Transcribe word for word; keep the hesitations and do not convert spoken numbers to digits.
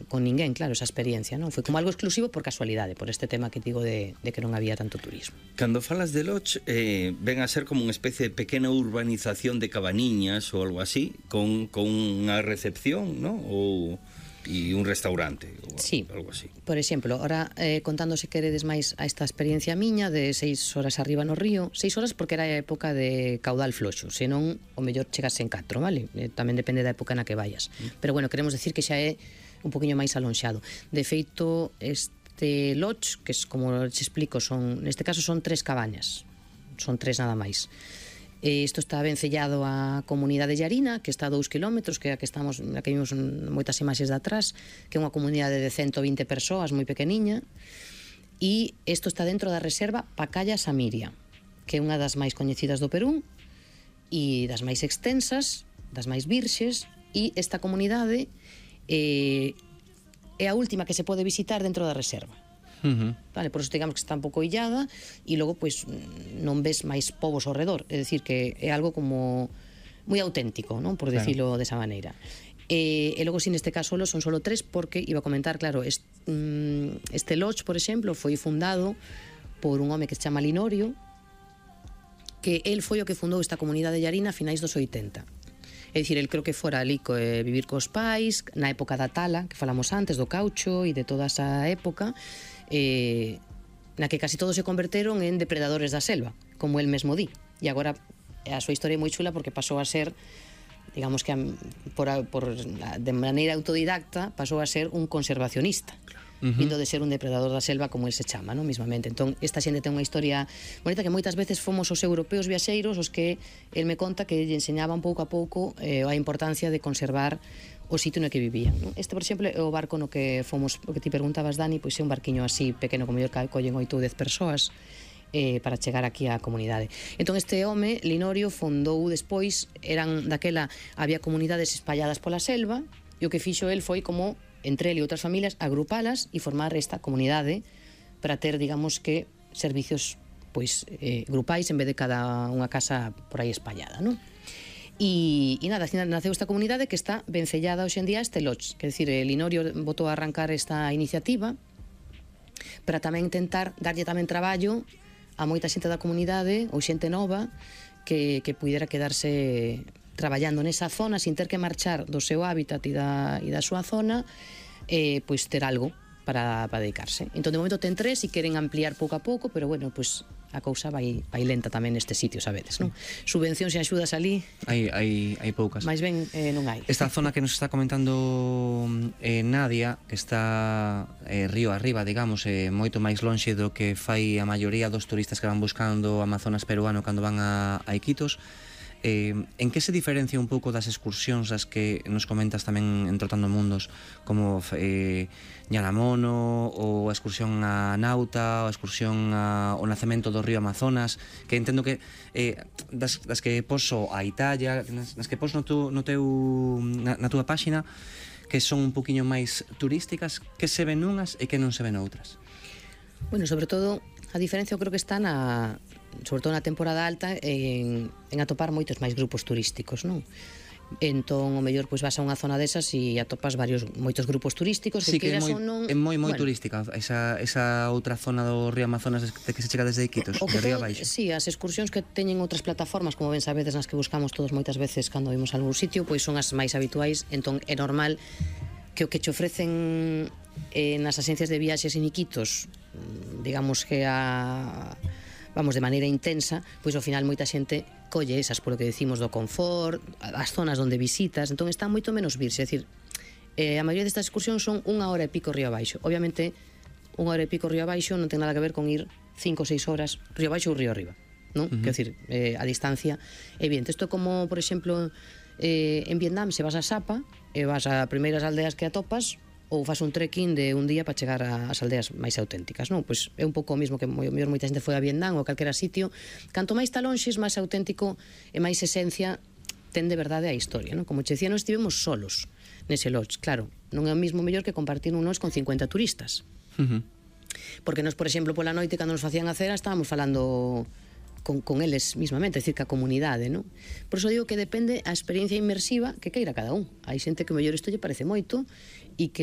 con ninguén, claro, esa experiencia, non? Foi como algo exclusivo por casualidade, por este tema que digo de, de que non había tanto turismo. Cando falas de lodge, eh, ven a ser como unha especie de pequena urbanización de cabaniñas ou algo así, con, con unha recepción, non? Ou... e un restaurante ou sí, algo así. Por exemplo, ahora eh, contando se queredes máis a esta experiencia miña de seis horas arriba no río, seis horas porque era a época de caudal floxo, senón o mellor chegas en catro, vale? Eh, tamén depende da época na que vayas. Mm. Pero bueno, queremos decir que xa é un poquinho máis alonxado. De feito, este lodge, que es como te explico, son, neste caso son tres cabañas, son tres nada máis. Isto está vencellado á comunidade Llarina, que está a dous kilómetros, que é a que estamos, a que vimos moitas imaxes de atrás, que é unha comunidade de ciento vinte persoas, moi pequeniña, e isto está dentro da reserva Pacaya Samiria, que é unha das máis coñecidas do Perú e das máis extensas, das máis virxes, e esta comunidade eh, é a última que se pode visitar dentro da reserva. Uh-huh. Vale, por eso digamos que está un pouco illada e logo pois non ves máis povos ao redor, é dicir que é algo como moi auténtico, non? Por decirlo claro. Desa maneira. E, e logo si neste caso son solo tres porque iba a comentar, claro, este, este lodge, por exemplo, foi fundado por un home que se chama Linorio, que el foi o que fundou esta comunidade llarina a finais dos oitenta. É dicir, el creo que fora ali co, eh, vivir cos pais na época da tala, que falamos antes, do caucho e de toda esa época, eh, na que casi todos se converteron en depredadores da selva, como el mesmo di. E agora a súa historia é moi chula porque pasou a ser, digamos que a, por, a, por, de maneira autodidacta, pasou a ser un conservacionista. Uh-huh. Vindo de ser un depredador da selva, como el se chama, non? Mismamente. Entón, esta xente ten unha historia bonita que moitas veces fomos os europeos viaxeiros os que el me conta que lle enseñaban pouco a pouco eh, a importancia de conservar o sitio no que vivían, non? Este, por exemplo, é o barco no que fomos, o que ti preguntabas, Dani, pois é un barquiño así pequeno, como mellor que collen oito ou dez persoas eh, para chegar aquí á comunidade. Entón, este home, Linorio, fundou despois, eran daquela, había comunidades espalladas pola selva, e o que fixo el foi como entre ele e outras familias, agrupalas e formar esta comunidade para ter, digamos que, servicios pois eh, grupais en vez de cada unha casa por aí espallada, non? E, e nada, naceu esta comunidade que está vencellada hoxe en día a este lodge, que é dicir, el Linorio botou a arrancar esta iniciativa para tamén intentar darlle tamén traballo a moita xente da comunidade ou xente nova que, que pudera quedarse traballando nesa zona sin ter que marchar do seu hábitat e da, e da súa zona, eh, pois ter algo para, para dedicarse. Entón, de momento ten tres e queren ampliar pouco a pouco, pero bueno, pois a cousa vai, vai lenta tamén neste sitio, sabedes, non? Subvencións e axudas ali hai, hai, hai poucas. Mais ben eh, non hai. Esta zona que nos está comentando eh, Nadia, que está eh, río arriba, digamos, eh, moito máis lonxe do que fai a maioría dos turistas que van buscando o Amazonas peruano cando van a, a Iquitos. Eh, en que se diferencia un pouco das excursións das que nos comentas tamén en Trotando Mundos, como eh, Ñalamono ou a excursión a Nauta, ou a excursión a, ao nacemento do río Amazonas, que entendo que eh, das, das que poso a Italia, nas, nas que poso no, tu, no teu, na, na túa páxina, que son un poquinho máis turísticas, que se ven unhas e que non se ven outras? Bueno, sobre todo a diferencia eu creo que está na, sobre todo na temporada alta, en, en atopar moitos máis grupos turísticos, non? Entón, o mellor, pois vas a unha zona desas e atopas varios, moitos grupos turísticos. Sí, que, que é moi, non... é moi, moi bueno, turística esa, esa outra zona do río Amazonas de que se chega desde Iquitos, de río abaixo. Sí, as excursións que teñen outras plataformas, como ben sabedes, nas que buscamos todos moitas veces cando vimos algún sitio, pois son as máis habituais. Entón, é normal que o que che ofrecen eh, nas axencias de viaxes en Iquitos, digamos que a... vamos, de maneira intensa, pois ao final moita xente colle esas, polo que decimos do confort, as zonas onde visitas, entón está moito menos virse, é dicir, eh, a maioría destas excursións son unha hora e pico río abaixo. Obviamente, unha hora e pico río abaixo non ten nada que ver con ir cinco ou seis horas río abaixo ou río arriba, non? Uh-huh. Quer decir, eh, a distancia é evidente. Isto é como, por exemplo, eh, en Vietnam, se vas a Sapa e vas a primeiras aldeas que atopas, ou faz un trekking de un día para chegar ás aldeas máis auténticas, non? Pois é un pouco o mismo que moi, moita xente foi a Vietnam ou a calquera sitio. Canto máis talonxes, máis auténtico e máis esencia ten de verdade a historia, non? Como che dicía, non estivemos solos nese lodge, claro, non é o mismo mellor que compartir un lodge con cincuenta turistas. Uh-huh. Porque nós, por exemplo, pola noite, cando nos facían a cera, estábamos falando con, con eles mismamente, é dicir, que a comunidade, non? Por iso digo que depende a experiencia inmersiva que queira cada un. Hai xente que mellor isto lle parece moito e que